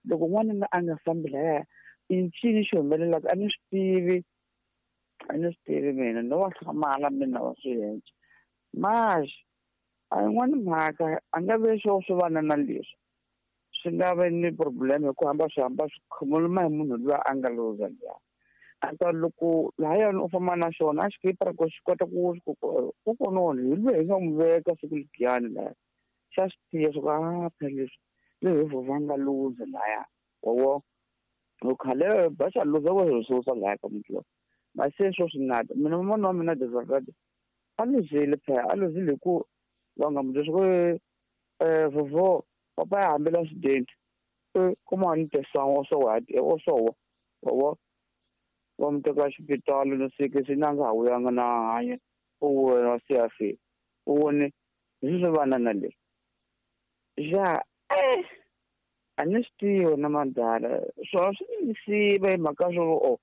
Loko n'wanuna a nga fambi laya, i ncini xi humelelaka? A ni swi tivi, a ni swi tivi mina, no va hlamala mina wa swi endla. Mas a yin'wani mhaka a nga ve swo swi vana na leswi swi nga ve ni problem, hi ku hamba swi hamba swi khomoloma hi munhu luya a nga luza luya. A ta loko lahayani u famba na xona a xikipara ku xi kota ku kokononi hi luya hi nga n'wi veka siku lediyani laya, xa swi tiva swa ku a phela leswi le hi vhovha nga luza laya, wawo khale ba xa luza wa hi susa laya ka muti lowu. Mase swo swi nata mina mamana wa mina de verdade a luzile phela, a luzile hi ku va nga mu byela swa ku vhovho papa ya hambela accident, kuma ni tesanga o sowa o sowa, wawo va mu teka xipitali no sike swi na nga ha vuyanga na hanya u wena se a fika u vone hi swi vana na leswi ja a ni swi tivi na madala swona swi ni siva hi mhaka swo o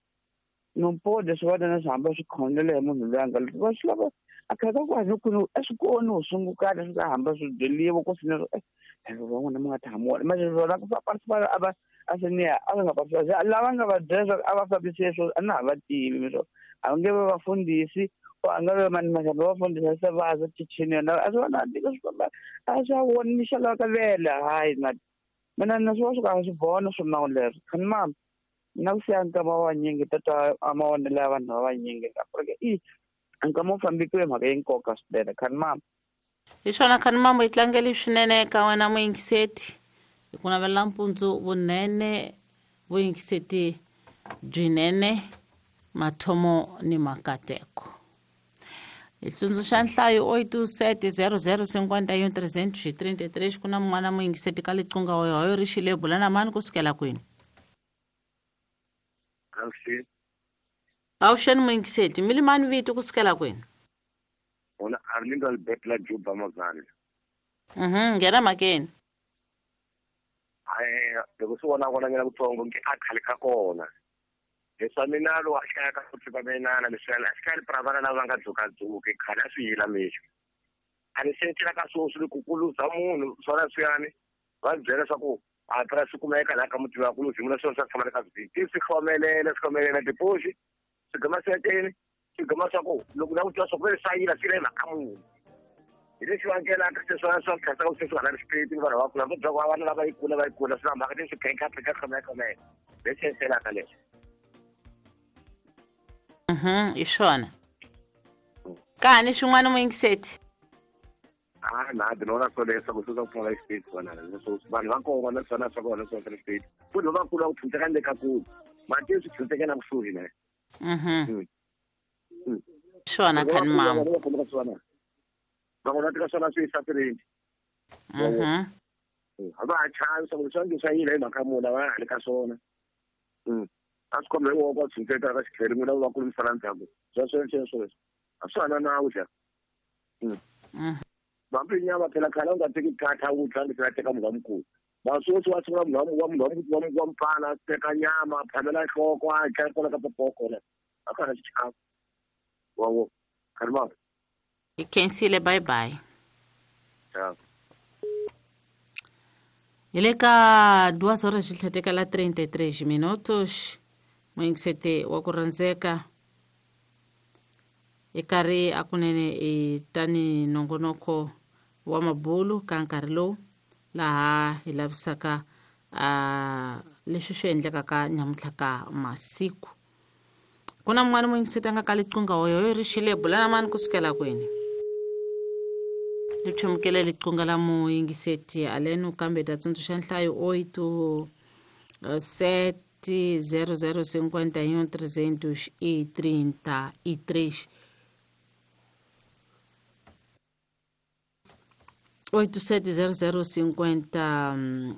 no pode swi vana na swi hamba swi khonela hi munhu loyi a nga va swi lava a khaka ku hanya ku a swi koni u sungukana swi nga hamba swi byeliwa ku swi van'wana mi nga ta hamuwona manje swona ku participate a va a swi ni a va nga participate lava nga va byela swa a va fambise swo a na ha va tivi mi swo a nge ve vafundhisi o a nga ve mani maxamba vafundhisi se va za chichini yona a swi vona tika swi famba a swi a voni ni xalava ka vele hayi na mina na swi va swi ka swi vona swo nawu leswo khani mama mina ku siya nkama wa vanyingi tata a mavonelo ya vanhu va vanyingi ka i nkama wu fambikiwe mhaka yi nkoka swinene khani mama. Hi swona khani mama, yi tlangeli swinene ka wena muyingiseti, hi ku navela mpundzu vunene, vuyingiseti byinene, mathomo ni makateko. Hi tsundzuxa nhlayo 8 7 00 51 333. Ku na mun'wana muyingiseti ka liqunga hoyohoyo ri xile, bula na mani kusukela kwini? Avuxeni muyingiseti, mi limani vito kusukela kwini? Ona Arlindo Albert la Juba Mazani. Nghena mhakeni. Loko swi vona vona nyana kutsongo nge a khale ka kona. Leswa mina lo a hlaya ka ku tsiva minana leswi a xikali pra vana lava nga dzukadzuki khale a swi yila mixo. A ni sentela ka swoswi loko ku luza munhu swona swiyani va byela swa ku a pra swi kumeka laha ka muti wa ku luzi munhu swona swa tshama le ka vhiki swi hlomelela swi hlomelela tipoxi swi gama swi swi gama swa ku loko na ku twa swa ku swa yila swi le mhaka munhu hi leswi vangelaka se swona swa tlhasa ku se swi nga na respect ni vanhu va kula va byela ku vana lava yi kula va yi kula swi na mhaka leswi phenka phenka hlomela hlomela leswi enselaka leswi. Hi swona kani swin'wana muyingiseti? A na ni vona swo leswaku swi swa ku pfumala respect vona leswo vanhu va kona na swona swa kona swa respect futhi va kula ku phunteka ni le ka kulu mati swi phunteke na kusuhi na. Swona khani mama. Va vona tika swona swi satireni. A va ha chavi swa ku leswi nge swa yila hi mhaka munhu a va ha le ka swona. A swi khome hi voko va tshuntseka ka xikheri n'wina va kulumisana ndzhaku swa sweswo sweswo leswi a swi hana nawu xa. Hambi nyama phela khale u nga teki khatha u dla leswi teka munhu wa mukulu. Vasweswi wa sungula munhu wa munhu wa mfana teka nyama phamela nhloko a dya kwala ka popoko le a ka ha xichavo. Wawo khani mama. Hi khensile, bye bye. Ciao. Hi le ka 2 horas xi tlhetekela 33 minutos, muyingiseti wa ku rhandzeka i karhi a kunene i tani nongonoko wa mabulu ka nkarhi lowu laha hi lavisaka a leswi swi endlekaka nyamuntlha ka masiku. Ku na mun'wana muyingiseti a nga ka liqunga hoyohoyo ri xile, bula na mani kusukela kwini? Li thomukele liqunga la muyingiseti alenu kambe ta tsundzuxa nhlayo 8 7 00 51 333 8 7 00 50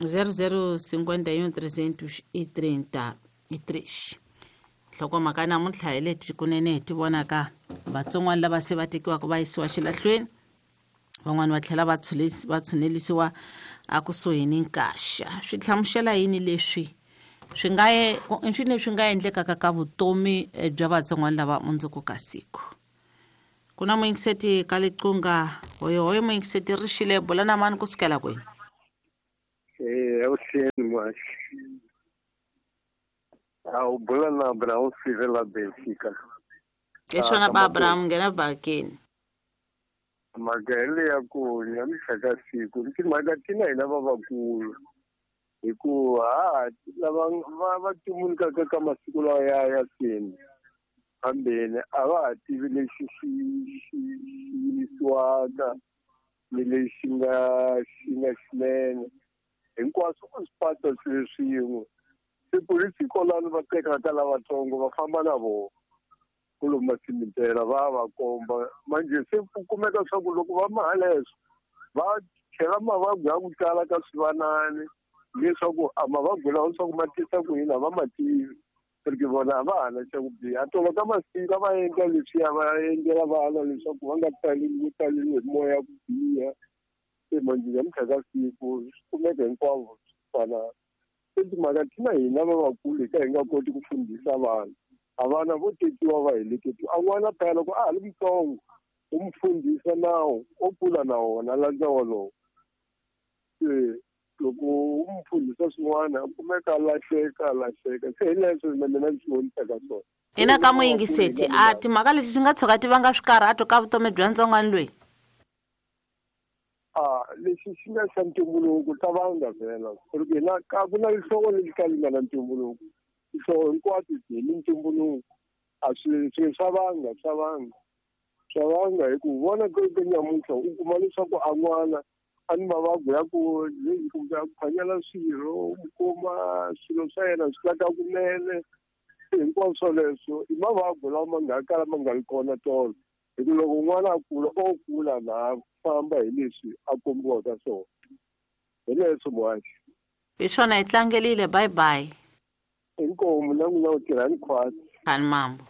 00 51 333. Nhlokomhaka namuntlha hi leti kunene hi ti vonaka vatsongwana lava se va tekiwaka va yisiwa xilahlweni, van'wani va tlhela va tshunelisiwa akusuhi ni nkaxa. Swi hlamusela yini leswi swi nga swi leswi nga endlekaka ka vutomi bya vatsongwana lava mundzuku ka siku? Ku na muyingiseti ka liqunga hoyohoyo muyingiseti ri xile, bula na mani kusukela kwini? Avuxeni. muhaxi. A u bula na Abraão Sivela Benfica. Hi swona ba Abraham nghena bakeni. Mhaka yeleyo ya ku nyamuhla ka siku timhaka tina hina vavakulu hikuva lava va tumulukaka ka masiku lawa ya seni hambeni a va ha tivi lexi xi yimisiwaka ni lexi nga xinene hinkwaswo u swi pata swilo swin'we se polisi kolani va tekaka lavatsongo va famba na vona ku lomba simitela va komba manje se ku kumeka swa ku loko va mahaleswo va chela mavabyi ya ku tala ka swivanani leswaku a mavabyi lawa swa ku ma tisa ku yini a va ma tivi porque vona a va ha na xa ku biha tolo ka masiku a va endla leswiya va endlela vana leswaku va nga taleli hi moya ku biha se manje namuntlha ka siku swi kumeka hinkwavo swi fana se timhaka tina hina vavakulu hi ka hi nga koti ku fundhisa vana a vana vo tekiwa va heleketiwa a n'wana phela loko a ha ri mutsongo u mu fundhisa nawu o kula na wona landza wolowo se loko u mu fundhisa swin'wana a kumeka a lahleka se hi leswo na mina ndzi swi vonisaka swona. Ina ka muyingiseti a timhaka leti swi nga tshuka ti vanga swikarhato ka vutomi bya ntsongwana loyi? A lexi xi nga xa ntumbuluko ta vanga vhela porque hina ka ku na lihlovo lexi ka li nga na ntumbuluko tihlovo hinkwato hi ni ntumbuluko a swi swa vanga hi ku vona ke nyamuntlha u kuma leswaku a n'wana a ni mavabyi ya ku kumbe a ku khwanyela swirho u kuma swilo swa yena swi laka kunene hinkwaswo swoleswo i mavabyi lawa ma nga kala ma nga ri kona tolo hi ku loko n'wana a kula o kula na famba hi leswi a kombiwaka swona hi leswo muhaxi. Hi swona hi tlangelile bye bye. Inkomu na n'wina u tirhani khwatsi. Khani mambo.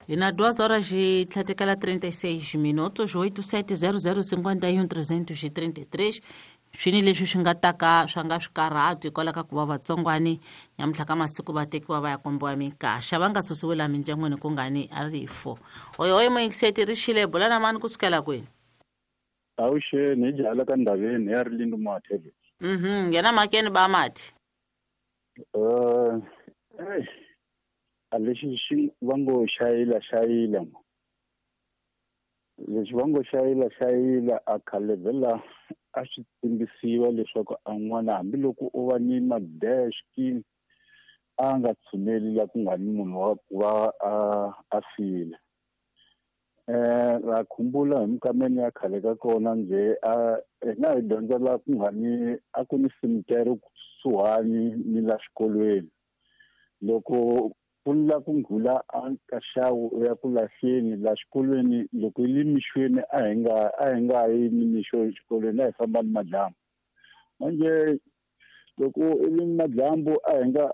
Hi na 2 horas e tlhatekela 36 minutos 870051 333 swini leswi swi nga taka swa nga swikarhato hikwalaho ka ku va vatsongwani nyamuntlha ka masiku va tekiwa va ya kombiwa minkaxa va nga susiwi laha mindyangwini ku nga ni a rifo. Oyo muyingiseti ri xile bula na mani kusukela kwini? Avuxeni hi jahala ka ndhaveni ya Rilindu Mathe. Nghena makeni ba Mathe. A lexi xi va ngo xayila lexi va ngo xayila a khale vhela a swi tsimbisiwa leswaku a n'wana hambiloko u va ni madeski a nga tshuneli la ku nga ni munhu wa ku va a file. Va khumbula hi minkameni ya khale ka kona njhe a hina hi dyondza la ku nga ni a ku ni cemetery kusuhani ni la xikolweni loko ku la ku nghula a ka xawu u ya ku lahleni la xikolweni loko yi le mixweni a hi nga yi ni mixo exikolweni a hi famba ni madyambu manje loko i le madyambu a hi nga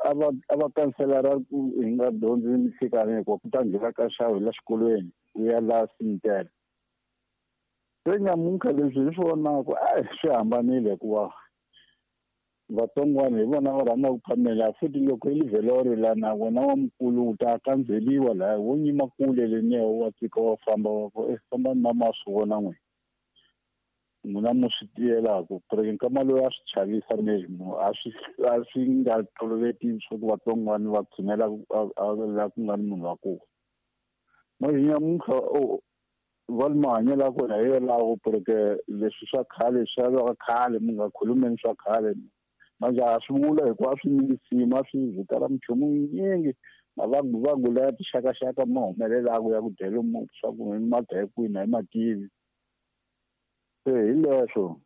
a va kanselara ku hi nga dyondzi minhlekani hikuva ku ta nghena ka xawu hi la xikolweni u ya la cemetery. Se nyamuntlha leswi hi swi vonaka a swi hambanile hikuva vatsongwana hi vona va rhanga ku phamela futhi loko i livhelori la na wena wa mukulu u ta kandzeliwa laha wo nyima kule leniya wa tika wa famba wa ku famba ni mama swi vona n'we n'wina mu swi tiyelaka porque nkama loyi a swi chavisa mesmo a swi nga toloveti swa ku vatsongwana va tshunela la ku nga ni munhu wa ku manje nyamuntlha va li mahanyelo ya kona hi yolawo porque leswi swa khale swa va khale mi nga khulumeni swa khale manje a swi vula hikuva a swi nyingisiwa a swi vitana minchumu yinyingi mavabyi laya tixakaxaka ma humelelaka ya ku dyela swa ku ma dya kwini a hi ma tivi se hi leswo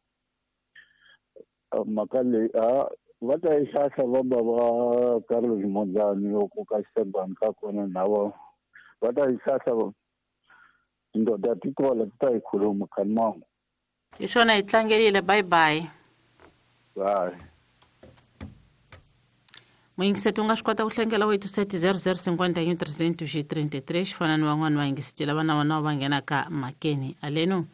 mhaka leyi a va ta yi hlahla va ba va Carlos Monzani loko ka xitengwana ka kona na va ta yi hlahla tindoda ti kola ti ta yi khuluma khani mangu. Hi swona hi tlangelile bye bye. Bye. Muyingiseti u nga swi kota ku hlengela 870051 333 fana ni van'wani vayingiseti lava na vona va nghenaka makeni aleno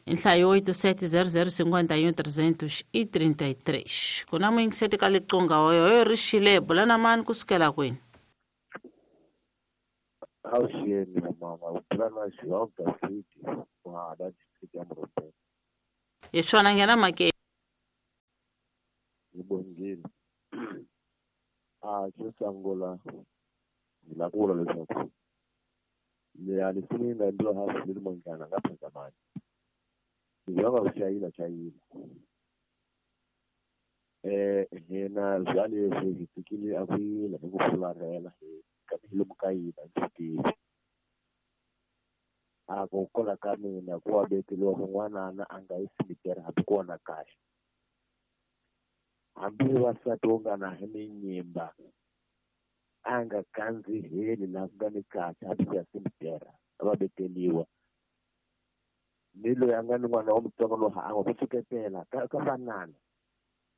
nhlayo 870051 333 ku na muyingiseti ka liqunga oyo ri xile bula na mani kusukela kwini? Avuxeni mama, u bula na João da City wa hala district ya Morobeni. Hi swona nghena makeni. Bongile. A xo sungula ni lava ku vula leswaku leya nsimu yi nga endliwa hansi ni munghana nga phazamani. Ni vona ku chayila chayila. Hina bya leswi hi fikile a ku yila hi ku fularhela hi lomu ka yina ndzi tivi. A ku kola ka mina ku wa beteliwa kun'wanana a nga yi simitere hambi kona kahle. Hambi vasati wo nga na hi minyimba a nga kandziheli laha ku nga ni kahle hambi ku ya simitera a va beteliwa. Ni loyi a nga ni n'wana wa mutsongo loyi a nga ku suketela ka vanana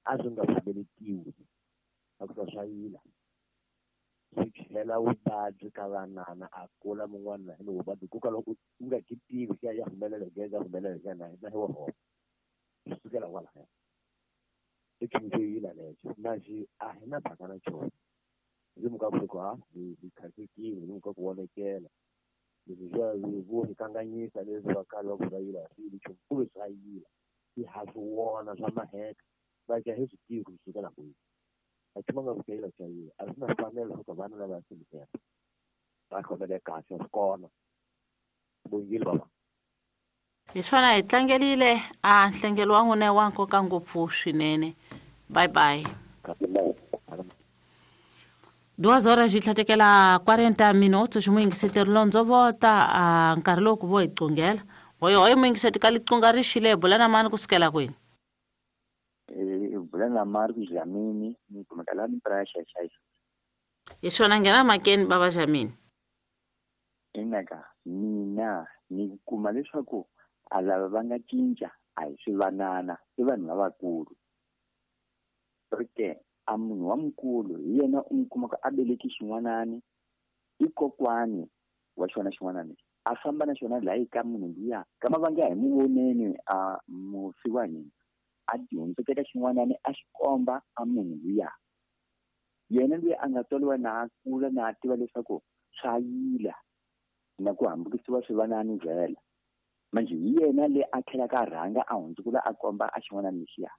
a swi nga pfumeletiwi a ku swa yila. Swi tlhela vuvabyi ka vanana a kula mun'wana ni vuvabyi ku ka loko u nga ki tivi ya ya humelela hi ya humelela hi na na hi wo swi sukela kwalaya. I nchumu xo yila lexo na xi a hi na mhaka na xona. Hi muka ku ha hi khasekile hi muka ku vonekela leswi swa vo hi kanganyisa leswi va kale va ku swa yila swi yili nchumu kumbe swa yila hi ha swi vona swa maheka va ka hi swi tivi ku swi sukela kwihi. A xi nga ku chayila chayila a swi na fanelo leswaku vana lava ya simitera va khomele kahle swi kona. Bongile baba. Hi swona hi tlangerile a nhlengelo wa n'wina wa nkoka ngopfu swinene. Bye bye. 2 horas tlhatekela 40 minutos muyingiseti rilondzo vota a nkarhi lowu ku vo hi qungela. Hoyo muyingiseti ka liqunga ri xile bula na mani kusukela kwini? Bula na Mark Dlamini ni kumeka la ni pressure xayi. Hi swona nghena makeni baba Dlamini. Inaka mina ni kuma leswaku a lava va nga cinca a hi swivanana i vanhu lavakulu. Porque a munhu wa mukulu hi yena u n'wi kumaka a beleki xin'wanani i kokwani wa xona xin'wanani a famba na xona laha ka munhu luya kama va nga hi n'wi voneni a mufi wa hina a dyondzeketa xin'wanani a xi komba a munhu luya. Yena luya a nga tswariwa na a kula na a tiva leswaku swa yila na ku hambukisiwa swivanani vhela. Manje hi yena le a tlhelaka a rhanga a hundzukula a komba a xin'wanani lexiya.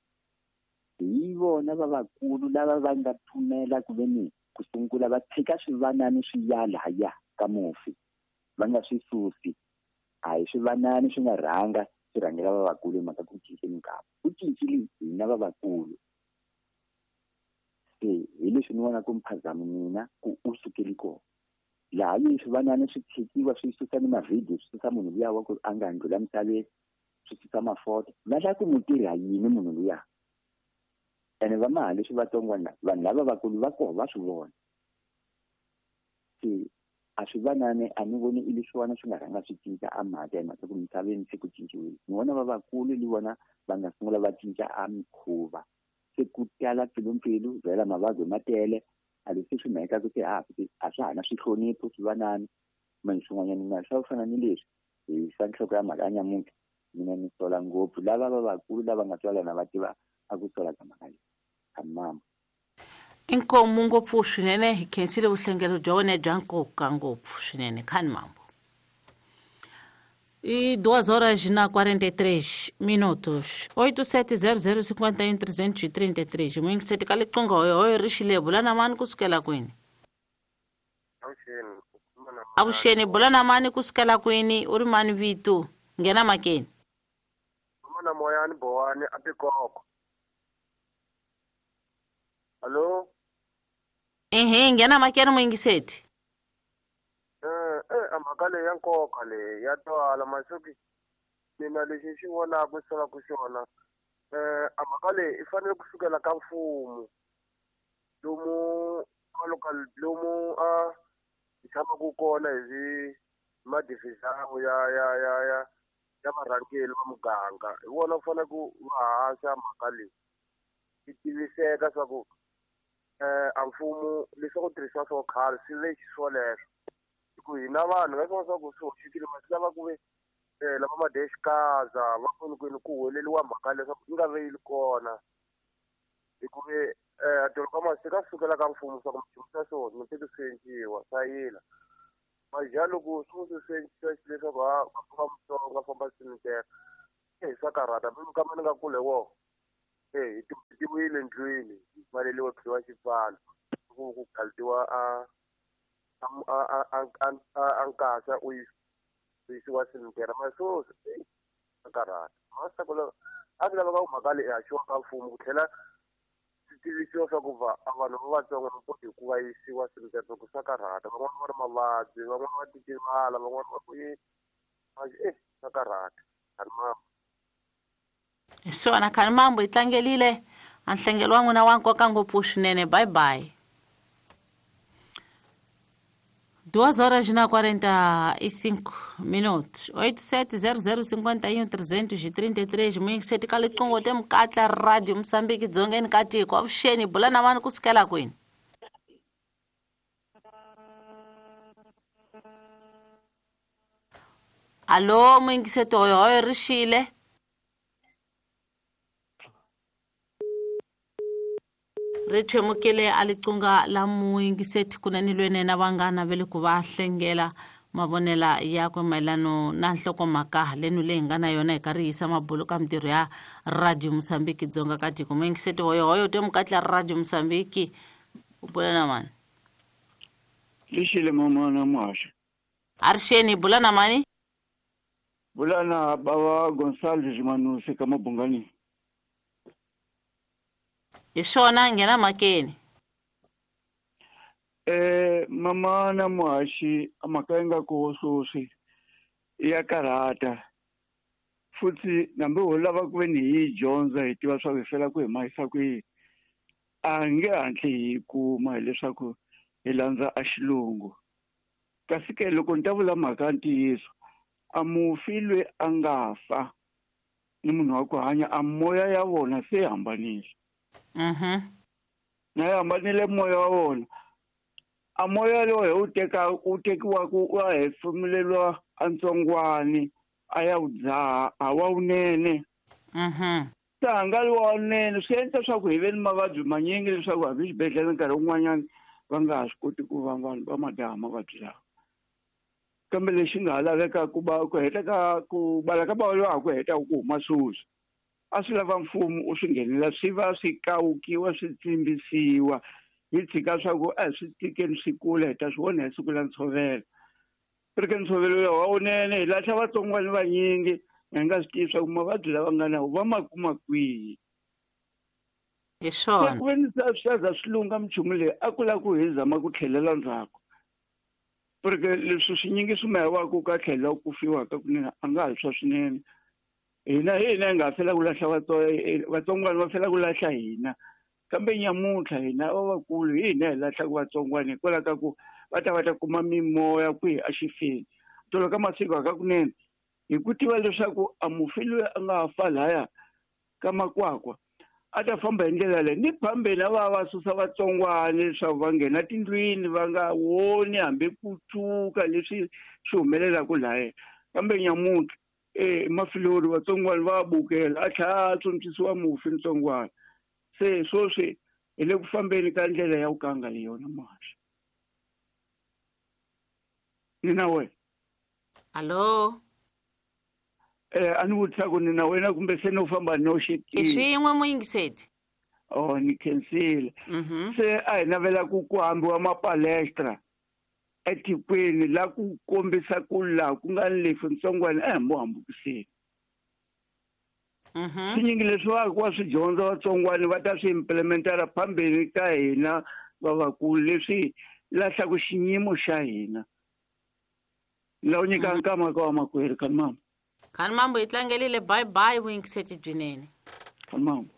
Hi vona vavakulu lava va nga pfumela ku ve ni ku sungula va tshika swivanani swi ya lahaya ka mufi va nga swi susi. A hi swivanani swi nga rhanga swi rhangela vavakulu hi mhaka ku cinceni nkarhi. Ku cincile hina vavakulu. Se hi leswi ni vonaka mphazamo mina ku u sukeli kona. Laha yi swivanani swi tshikiwa swi susa ni mavhidiyo swi susa munhu luya wa ku a nga ndlula misaveni swi susa mafoto va lava ku n'wi tirha yini munhu luya. Ene va maha leswi vatsongwana vanhu lava vakulu va koho va swi vona. Se a swi vanani a ni voni i leswiwana swi nga rhanga swi cinca a mhaka hi mhaka ku misaveni se ku cinciwile. Ni vona vavakulu ni vona va nga sungula va cinca a mikhuva. Se ku tala mpfilumpfilu vhela mavabyi ma tele a leswi swi mhaka ku se a swa ha na swihlonipho swivanani manje swin'wanyana na swa ku fana ni leswi hi sa nhloko ya mhaka ya nyamuntlha mina ni sola ngopfu lava vavakulu lava nga tswalana va tiva a ku sola ka mhaka leyi. Mama. Inkomu ngopfu swinene hi khensile vuhlengelo bya wena bya nkoka ngopfu swinene khani mambo. E 2 horas na 43 minutos. 8700 51 333. Muyingiseti ka liqunga hoyo hoyo ri xile bula na mani kusukela kwini? Avuxeni bula na mani kusukela kwini? U ri mani vito? Nghena makeni. Mana moyani bowani a tikoko. Allo? Ehe, nghena makeni muyingiseti. A mhaka leyi ya nkoka leyi ya twala masuki mina lexi xi vonaka solaka xona a mhaka leyi i fanele ku sukela ka mfumo lomu local lomu a hi tshamaka kona hi madivizawu ya ya ya ya ya varhangeri va muganga hi vona ku fanele ku va haxa mhaka leyi yi tiviseka swa ku a mfumo leswaku tirhisiwa swa khale swi ve xiswoleswo. Ku hina vanhu va swa ku swi hoxekile masi lava ku ve lava madexikaza va kwini ku huweleliwa mhaka leswaku yi nga ve yi ri kona hi ku ve tolo ka masi ka sukela ka mfumo swa ku minchumu swa swona mi teke swi endliwa swa yila maja loko swi swi endlisiwa leswaku ha va famba Mutsonga famba simitera hi swa karhata mi kama ni nga kule wo Hi tiwile ndlwini hi pfaleliwa khiwa xipfalo ku khaltiwa a a nkasa u yisiwa simtera ma so karhata masako a swi laveka ku mhaka leyi haxiwa ka mfumo ku tlhela swi tivisiwa swa ku va vanhu va vatsongo va koti ku va yisiwa simtera ku swa karhata van'wana va ri mavabyi van'wana va titivala van'wana va ku yi swa karhata Khanimambo. Swona Khanimambo hi tlangelile a nhlengelo wa n'wina wa nkoka ngopfu swinene. Bye bye. 2h45 minutos 870051 333 muyingiseti ka liqingho te Mukatla Radio Mosambiki dzongeni ka tiko. Avuxeni, bula na mani kusukela kwini? Alo muyingiseti hoyohoyo ri xile. Ri thwemukile a liqunga la muyingiseti kunene lwene na vanghana va le ku va hlengela mavonela yakwe mayelano na nhlokomhaka lenu leyi nga na yona hi karhi yisa mabulu ka mintirho ya Radio Mosambiki dzonga ka tiko. Muyingiseti hoyohoyo te Mukatla Radio Mosambiki, u bula na mani? Lixile mamana muhaxi. Arixeni, bula na mani? Bula na bava Gonçalves Manusi ka Mabungani. Hi swona, nghena mhakeni. Mama na muhaxi mhaka yi nga koho sweswi ya karhata futhi nambi ho lava ku ve ni hi yi dyondza hi tiva swa ku hi fela ku hi mahisa kwihi a nge hatli hi kuma hileswaku hi landza a xilungu. Kasi ke loko ni ta vula mhaka ya ntiyiso a mufi loyi a nga fa ni munhu wa ku hanya a moya ya vona se yi hambanile. Na yi hambanile moya wa vona. A moya lowu hi wu teka wu tekiwaka wa hefemuleriwa antsongwani a ya wu dzaha a wa wunene. Se a nga ri wa wunene swi endla leswaku hi ve ni mavabyi manyingi leswaku hambi xibedhlele nkarhi wun'wanyana va nga ha swi koti ku va vanhu va ma dzaha mavabyi lawa. Kambe lexi nga ha lavekaka ku ba ku heta ka ku bala ka bava lowa ha ku heta ku huma sweswi a swi lava mfumo u swi nghenela swi va swi kawukiwa swi tsimbisiwa hi tshika swa ku a hi swi tikeni swi kula hi ta swi vona hi siku la ntshovelo. Ri ke ntshovelo lowu wa wunene hi lahla vatsongwana vanyingi hi nga swi tivi swa ku mavabyi lava nga na va ma kuma kwihi. Hi swona. Ku ve ni swi ta za swi lungha minchumu leyi a ku lava ku hi zama ku tlhelela ndzhaku. Porque leswi swinyingi swi mahiwaka ka tlhelo ku fiwaka kunene a nga ha swa swinene. Hina hi hina hi nga fela ku lahla vatsongwana va fela ku lahla hina. Kambe nyamuntlha hina lavakulu hi hina hi lahlaka vatsongwana hikwalaho ka ku va ta va ta kuma mimoya kwihi exifeni. Tolo ka masiku hakakunene hi ku tiva leswaku a mufi loyi a nga fa laya ka makwakwa a ta famba hi ndlela leyi ni phambeni a va va susa vatsongwana leswaku va nghena tindlwini va nga woni hambi ku tshuka leswi swi humelelaka laya. Kambe nyamuntlha mafilori vatsongwana va bukela a tlhela a tsontswisiwa mufi ntsongwana. Se sweswi hi le ku fambeni ka ndlela ya ku nga ri yona muhaxi. Ni na wena? Alo? A ni vutisa ku ni na wena kumbe se no famba noxe ke? I swin'we muyingiseti. Oh, ni khensile. Se a hi navela ku ku hambiwa mapalestra etikweni la ku kombisa ku laha ku nga ni lefu ntsongwana a hi mo hambukiseni. Swinyingi leswi va ku va swi dyondza vatsongwana va ta swi implementara phambeni ka hina vavakulu leswi lahlaku xiyimo xa hina. La u nyika nkama ka wa makwerhu Khanimambo. Khanimambo hi tlangelile. Bye bye vuyingiseti byinene. Khanimambo.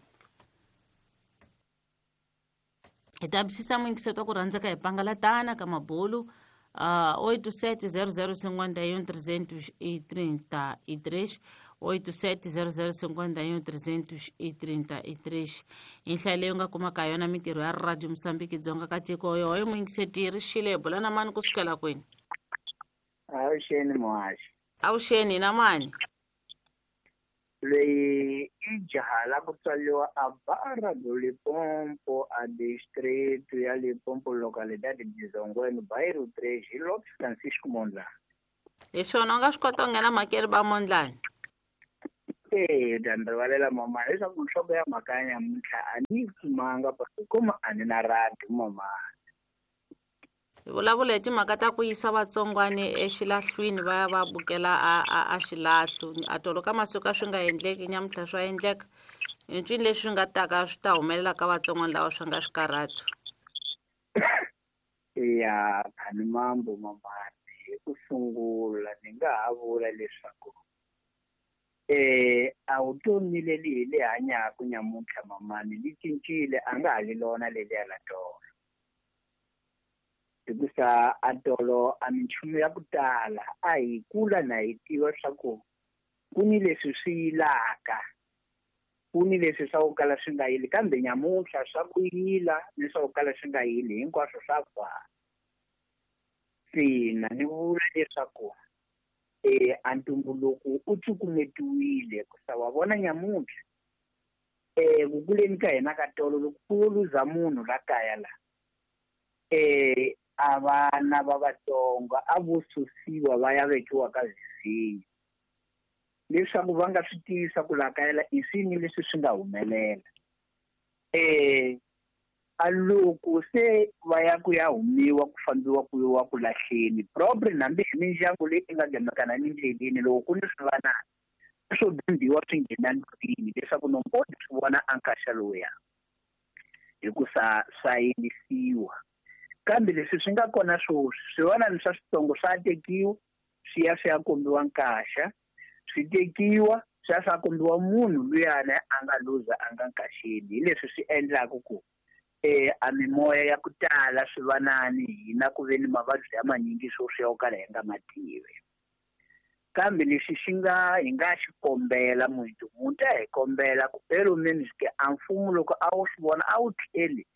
Hi ta bisisa muyingiseti wa ku rhandzeka hi pangalatana ka mabulu 87 00 51 333 87 00 51 333 hi nhlayo leyi u nga kumaka yona mintirho ya Radio Mosambiki dzonga ka tiko yohoyo muyingiseti ri xile bula na mani kusukela kwini? Avuxeni muhaxi. Avuxeni na mani? Leyi i jaha la ku tswariwa a Barra do Limpopo a distrito ya Limpopo localidade de Zongweni bairro 3 hi Lopes Francisco Mondlane. Hi swona u nga swi kota ku nghena mhakeni va Mondlane? Ta ni rivalela mama leswaku nhloko ya mhaka ya nyamuntlha a ni yi kumanga kuma a ni na radi mama. Hi vulavula hi timhaka ta ku yisa vatsongwani exilahlwini va ya va bukela a xilahlo a tolo ka masiku a swi nga endleki nyamuntlha swa endleka i ncini leswi nga taka swi ta humelela ka vatsongwani lava swi nga swikarhato. Ya khani mambo mamani hi ku sungula ni nga ha vula leswaku a vutomi leli hi le hanyaka nyamuntlha mamani li cincile a nga ha li lona leliya la tolo hikusa a tolo a minchumu ya ku tala a hi kula na hi tiva swa ku ku ni leswi swi yilaka ku ni leswi swa ku kala swi nga yili kambe nyamuntlha swa ku yila ni swa ku kala swi nga yili hinkwaswo swa fana. Sina ni vula leswaku a ntumbuluko u cukumetiwile kusa wa vona nyamuntlha ku kuleni ka hina ka tolo loko ku luza munhu la kaya la a vana va vatsongo a vo susiwa va ya vekiwa ka zvizinyo leswaku va nga swi tivi swa ku la kaya la i swini leswi swi nga humelela. A loko se va ya ku ya humiwa ku fambiwa ku yiwa ku lahleni proper hambi hi mindyangu leyi nga gemekana ni ndleleni loko ku ni swivanana swo bimbiwa swi nghena ndlwini leswaku nompodi swi vona a nkaxa lowuya hikusa swa yimisiwa. Kambe leswi swi nga kona swoswi swivanana swa switsongo swa tekiwa swi ya swi ya kombiwa nkaxa swi tekiwa swi ya swa kombiwa munhu luyana a nga luza a nga nkaxeni. Hi leswi swi endlaka ku a mimoya ya ku tala swivanani hina ku ve ni mavabyi ya manyingi swoswi ya ku kala hi nga mativi. Kambe lexi xi nga hi nga xi kombela muntu muntu a hi kombela ku ke a mfumo loko a wu swi vona a wu tlheli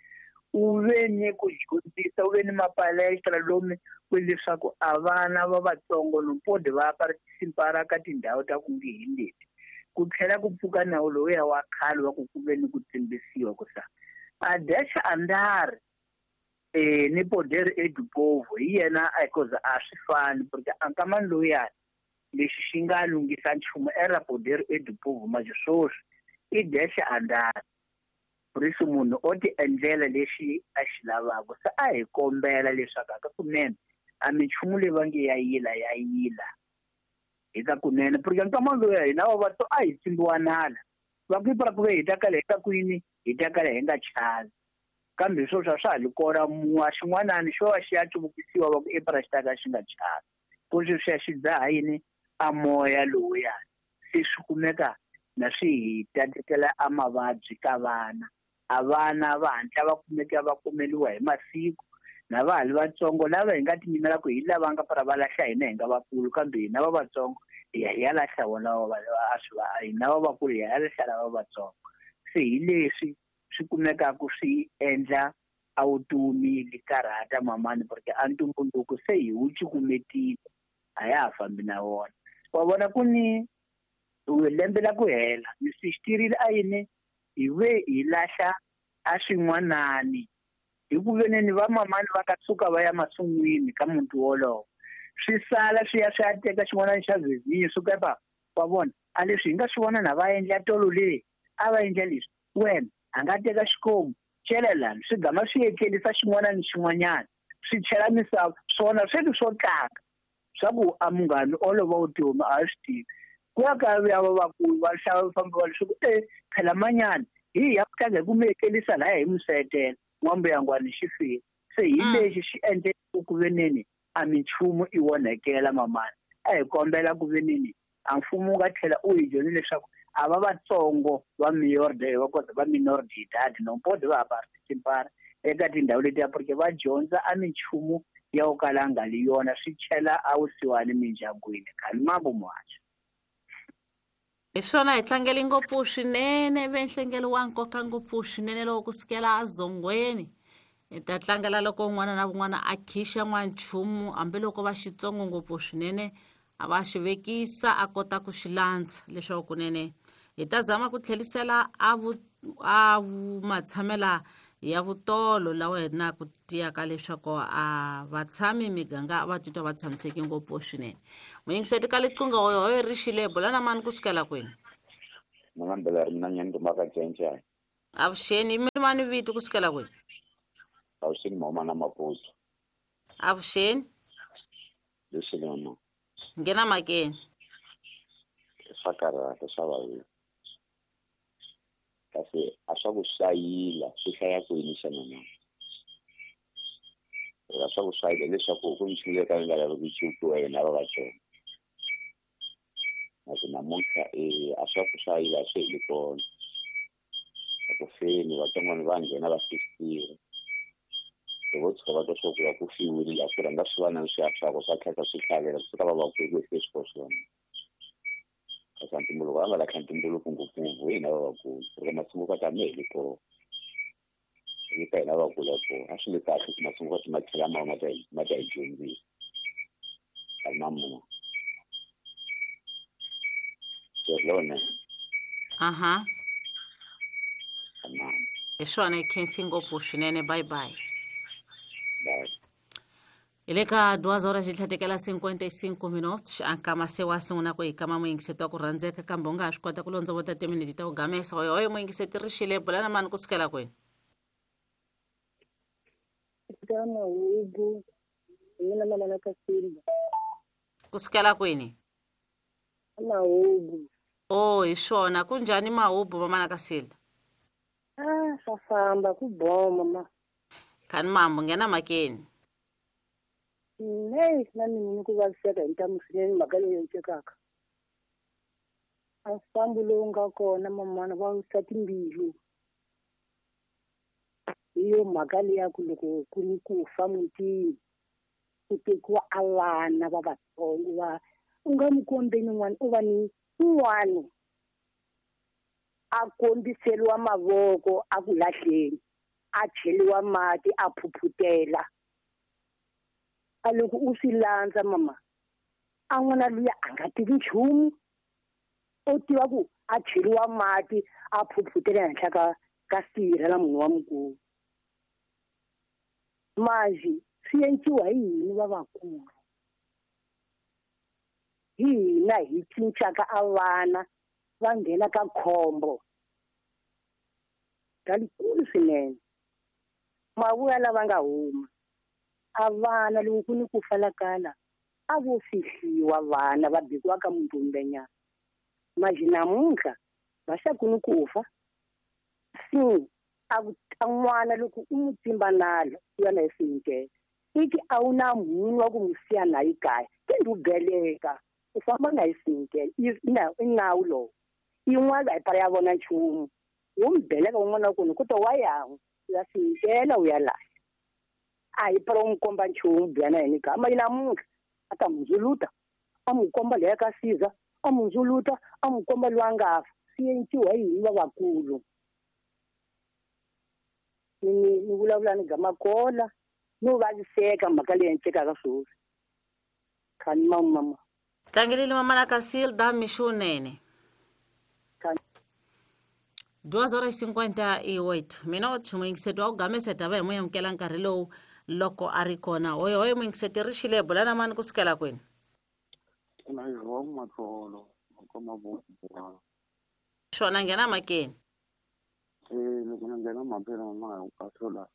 u ve ni ku dyondzisa u ve ni mapalestra lomu ku leswaku a vana va vatsongo nompodi va participara ka tindhawu ta ku nge hi leti ku tlhela ku pfuka nawu lowuya wa khale wa ku ku ve ni ku tsimbisiwa ku sa a desha andar ni poder edupovo hi yena because a swi fani porque ankamani lowuyani lexi xi nga lunghisa nchumu era poder edupovo manje swoswi i desha andar risu munhu o ti endlela lexi a xi lavaka se a hi kombela leswaku aka kunene a minchumu leyi va nge ya yila ya yila eka kunene porque nkamani lowuya hina va vato a hi tsimbiwa nala va ku ipara ku ve hi ta kala hi ta kwini hi ta kala hi nga chavi kambe swoswi a swa ha li kona muwa xin'wanani xo va xi ya cuvukisiwa va ku ipara xi ta ka xi nga chavi ku sweswiya xi dzaha yini a moya lowuya se swi kumeka na swi hi tatekela a mavabyi ka vana a vana va hatla va kumeka va kumeliwa hi masiku na va ha li vatsongo lava hi nga tinyimela ku hi lava nga para va lahla hina hi nga vakulu kambe hina va vatsongo hi ya hi ya lahla vona hina va vakulu hi ya lahla lava vatsongo. Se hi leswi swi kumekaka swi endla a vutomi li karhata mamani porque a ntumbuluko se hi wu cukumetile a ya ha fambi na wona. Wa vona ku ni lembe la ku hela ni swi xitirhile a yini hi ve hi lahla a swin'wanani hi ku veneni va mamani va ka suka va ya masun'wini ka muti wolowo swi sala swi ya swi ya teka xin'wanani xa vizinyo swi ka wa vona a leswi hi nga swi vona na va endla tolo leyi a va endla leswi wena a nga teka xikomu chela lani swi gama swi etlerisa xin'wana ni xin'wanyana swi chela misava swona sweswi swo tlanga swa ku a munghani olova vutomi a swi tivi ku ya ka ya va vakulu va hlava famba va leswaku phela manyana hi ya ku tlanga hi ku mi etlerisa laya hi musetela n'wambuyangwani xi file se hi lexi xi endle ku veneni a minchumu i onhekela mamani a hi kombela ku veneni a mfumo wu nga tlhela u hi dyondze leswaku a va vatsongo va miorde va kota va minor de idade nompodi va ha participara eka tindhawu letiya porque va dyondza a minchumu ya ku kala nga li yona swi chela a wusiwani mindyangwini khani mambo muhaxo. Hi swona hi tlangele ngopfu swinene ve nhlengelo wa nkoka ngopfu swinene loko kusukela azongweni hi ta tlangela loko un'wana na un'wana a khixa n'wanchumu hambiloko va xitsongo ngopfu swinene a va xi vekisa a kota ku xi landza leswaku kunene hi ta zama ku tlherisela a matshamela ya vutolo lawa hi na ku tiyaka leswaku a vatshami miganga va titwa va tshamiseke ngopfu swinene. Muyingiseti ka liqingho hoyo ri xile bula na mani kusukela kwini? Mama mbela ri mina nyani rumaka cenca. Avuxeni, mi mani vito kusukela kwihi? Avuxeni mama na Maputo. Avuxeni. Leswi mama. Nghena makeni. Swa karhata swa vavisa. Kasi a swa ku hlayila swi hlaya kwini xana mama? A swa ku hlayila leswaku ku nchumu yo ka yi nga lavi ku cinciwa hina va Vatsonga. Kasi namuntlha a swa ku hlayila swi heli kona. A ku feni vatsongwana va nghena va fihliwa. Loko vo tshuka va twa swa ku va ku fiwile laha ku rhanga swi va na swi swa swa tlhela swi tlhavela ku suka va va ku ku swi swo swona. Kasi ntumbuluko va nga lahla ntumbuluko ngopfungopfu hina lavakulu. Loko masungukati a ma heli kona. Hi ka hina lavakulu kona. A swi le kahle ku masungukati ma tlhela ma ma ta hi dyondzisa. Mama. Aha. Hi swona hi khensi ngopfu swinene. Bye bye. Bye. Hi le ka 2 horas hi tlhatekela 55 minutos ankama se wa sungula ku hi kama muyingiseti wa ku rhandzeka kambe u nga ha swi kota ku londzovota timinete ta ku gamesa. Oyo muyingiseti ri xile bula na mani kusukela kwini? Ka Mahubu, mina mama na Kasimba. Kusukela kwini? Mahubu. Oh, hi swona. Ku njhani Mahubu mama na Kasilda? Ah, swa famba ku boma ma. Khani mambo nghena makeni. Nei, na mina ni ku vaviseka hi ntamu swinene mhaka leyi endlekaka. A mfambo lowu nga kona mamana va wisa timbilu. Hi yo mhaka leya ku loko ku ni ku fa mutini ku tekiwa a vana va vatsongo va u nga n'wi kombeni n'wana u va ni un'wana a kombiseriwa mavoko a ku lahleni a cheliwa mati a phuphutela. A loko u swi landza mama a n'wana luya a nga tivi nchumu u tiva ku a cheliwa mati a phuphutela henhla ka sirha la munhu wa mukulu. Manje swi endliwa hi hina lavakulu. Hi hina hi cincaka a vana va nghena ka khombo ra likulu swinene. Mavuya lava nga huma a vana loko ku ni ku falakala a vo fihliwa vana va bikiwa ka muntumbenyana. Manje namuntlha va xa ku ni ku fa si a n'wana loko u n'wi tsimba nalo u ya na hi swinkele iti a wu na munhu wa ku n'wi siya na yi kaya kendi u beleka u famba na hi swinkele i nawu lowu yin'wana a yi para ya vona nchumu wo mi beleka un'wana wa kona ku ta wa yan'we u ya swinkela u ya lahla a hi para u n'wi komba nchumu biya na yena kaya mali namuntlha a ta n'wi ndzuluta a n'wi komba leya ka siza a n'wi ndzuluta a n'wi komba loyi a nga fa swi endliwa hi hina lavakulu. Ni vulavula ni gamakola no vaviseka mhaka leyi endlekaka sweswi. Khani mama. Tlangelile mama na Kasilda mixunene. 2:58 minutos muyingiseti wa ku gamesa tava hi moya amukela nkarhi lowu loko a ri kona. Oyo oyo muyingiseti ri xile bula na mani kusukela kwini? Swona nghena makeni. Loko ni nghena mhakeni mama hi kahlula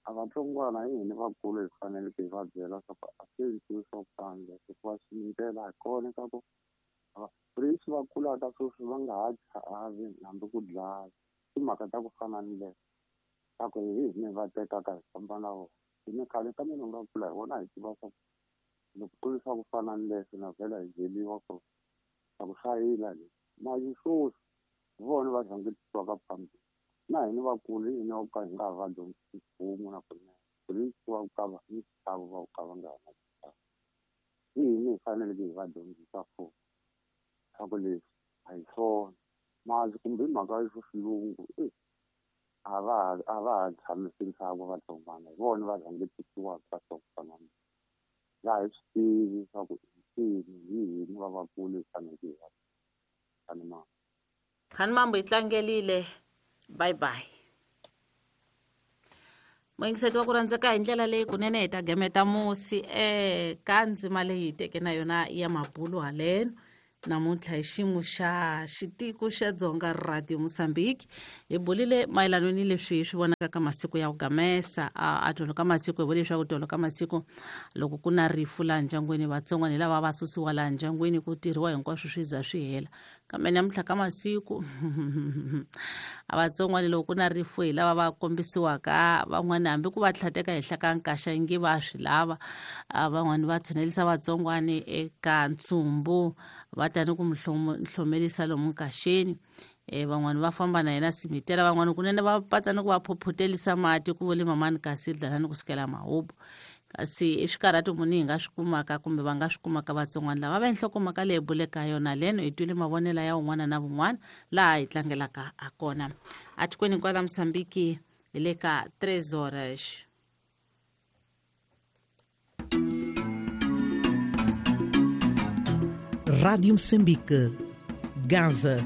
a vatsongwana hi hina vakulu hi faneleke hi va byela swa ku a swi endliwi swa ku tani hikuva xindlela hi kona ka ku leswi va kulaka sweswi va nga ha chavi hambi ku dlaya timhaka ta ku fana ni leyo ta ku hi hina va tekaka hi famba na vona. Hina khale ka mina nga kula hi vona hi tiva swa ku loko ku ri swa ku fana ni leswi na vhela hi byeliwa ku swa ku hlayila leswi mali sweswi hi vona va rhangisiwaka phambili. Na hina vakulu hi hina ka hi nga va dyondzisi nchumu na kunene leswi va ka va ni xichavo va ka va nga ha na xichavo. Hi hina hi faneleke hi va dyondzisa futhi swa ku leswi a hi swona mali kumbe hi mhaka ya xilungu a va ha tshamisi ntsako vatsongwana hi vona va rhangisiwaka swa ku fana na laha hi swi tivi swa ku hi hina va vakulu hi faneleke hi va khani mambo. Khani mambo hi tlangelile. Bye bye. Muyingiseti wa ku rhandzeka hi ndlela leyi kunene hi ta gameta musi eka ndzima leyi hi teke na yona ya mabulu haleno. Namuntlha hi xiyimo xa xitiko xa Dzonga Radio Mozambique hi bulile mayelana ni leswi hi swi vonaka ka masiku ya ku gamesa a tolo ka masiku. Hi vule leswaku tolo ka masiku loko ku na rifu laha ndyangwini, vatsongwana hi lava va susiwa laha ndyangwini, ku tirhiwa hinkwaswo swi za swi hela. Kambe namuntlha ka masiku a vatsongwana loko ku na rifu hi lava va kombisiwaka, van'wani hambi ku va tlhateka henhla ka nkaxa ingi va swi lava. Van'wani va tshunelisa vatsongwani eka ntsumbu, va ta ni ku mu hlomelisa lomu nkaxeni. Van'wani va famba na yena simitela, van'wani kunene va patsa ni ku va phophotelisa mati, ku vule mamani kasi dlala ni ku sukela mahubu. Kasi i swikarhato muni hi nga swi kumaka kumbe va nga swi kumaka vatsongwana lava va nhlokomhaka leyi buleka yona leno? Hi twile mavonelo ya un'wana na vun'wana laha hi tlangelaka ha kona atikweni kwala Mosambiki hi le ka 3 horas. Rádio Moçambique, Gaza.